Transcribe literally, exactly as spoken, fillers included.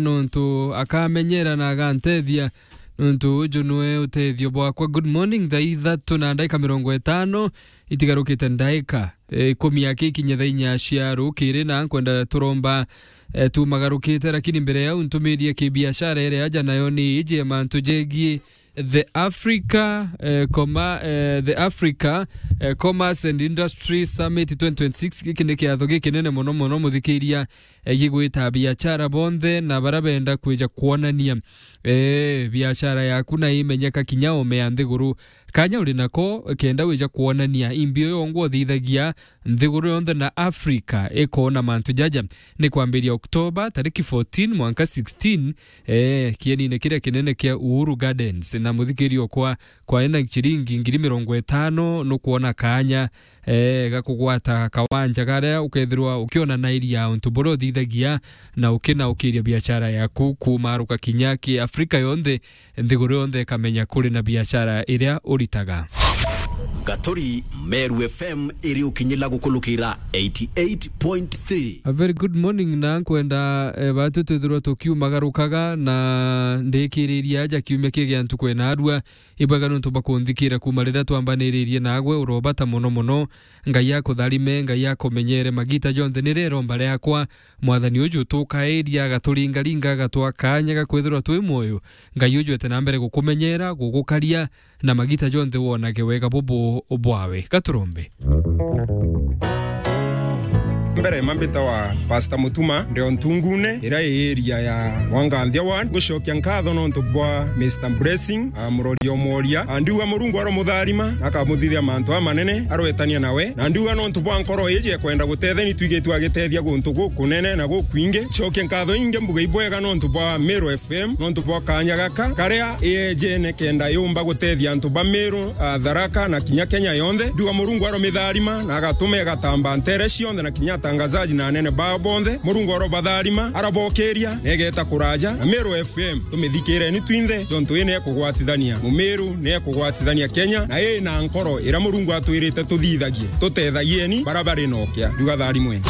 nontu akamenyera na agantethia, nontu uju nwe utethio bwakwa. Good morning, thaa ithatu na ndaika mirongo itano, itigarukite ndaika, eh, ikumi aki ikinye thaa inya cia rukiri, na nkwenda turomba, eh, tumagarukite, lakini mbere yau ntumirie kibiashara iria aja nayo ni iji ya mantu jegie the Africa, eh, Commer-, eh, the Africa, eh, Commerce and Industry Summit twenty twenty-six. Giki ni kiatho gikinene mono mono, muthikiria, eh, gigwita biashara bonthe na bara benda kwija kwonania, eh, biashara yaku na imenyeka kinya ome ya nthiguru. Kanya uri nako kenda wija kwonania imbi uyo ngwa uthithagia nthiguru yonthe na Africa ikona mantu jaja. Ni kwambiria Oktoba tariki fourteen mwanka sixteen, eh, kienine kiria kinene kia Uhuru Gardens. Na muthikirio kwa, kwa ena ciringi ngiri mirongo itano nukwona kanya, eh, ga kugwata kawanja karia ukethirwa ukionanairia untu buria uthithagia na ukinaukiria biashara yaku kumaruka kinya ki Afrika yonthe, nthiguru yonthe ikamenya kuri na biashara iria uritaga. Gaturi, Meru F M iri ukinyila gukulukira eighty eight point three. A very good morning, na nkwenda, eh, batu twithirwa tukiumagarukaga na ndikiriria aja kiumia kigia ntuku ena arua. Ibwega nontu bwa kunthikira kuma riria twambaniririe nagwe, urobata mono mono. Ngai akutharime, Ngai akumenyere magita jonthe. Ni rero mbare yakwa, Mwathani uju tukairia agaturingaringa, agatwa kanya ga kwithirwa twi mwoyo. Ngai uju ete na mbere gukumenyera, gugukaria, na magita jonthe wonage wega bubu bwawe. Gaturombe. Mbere mambita wa Pastor Mutuma, ndio Ntungune, iria i area ya Wanganthia Ward. Gucokia nkatho nontu bwa Mister Blessing, a, Murori Omworia. A, ndiuga Murungu aromutharima, na akamuthithia mantu amanene, arwetania nawe. Na ndiuga nontu bwa nkoro iji ekwenda gutetheni, twigitwe agitethia guntu gukunene na gukwingi. Cokia nkatho ingi mbuga ibwega nontu bwa Meru F M, nontu bwa kanya gaka, karia iyejene kenda yumba gutethia antu ba Meru, a, Tharaka na kinya Kenya yonthe. Ndiuga Murungu aromitharima na agatuma igatamba ntere cionthe na kinya atangazaji na anene bao bonthe. Murungu arobatharima, arobokiria, na igeta kuraja. Na Meru F M, tumithikireni twinthe, jontu ii ni ekugwatithania Mumiru, ni ekugwatithania Kenya, na ii na nkoro iria Murungu atwirite tuthithagie. Tutethagieni bara bari na ukia. Ndiuga tharimweni.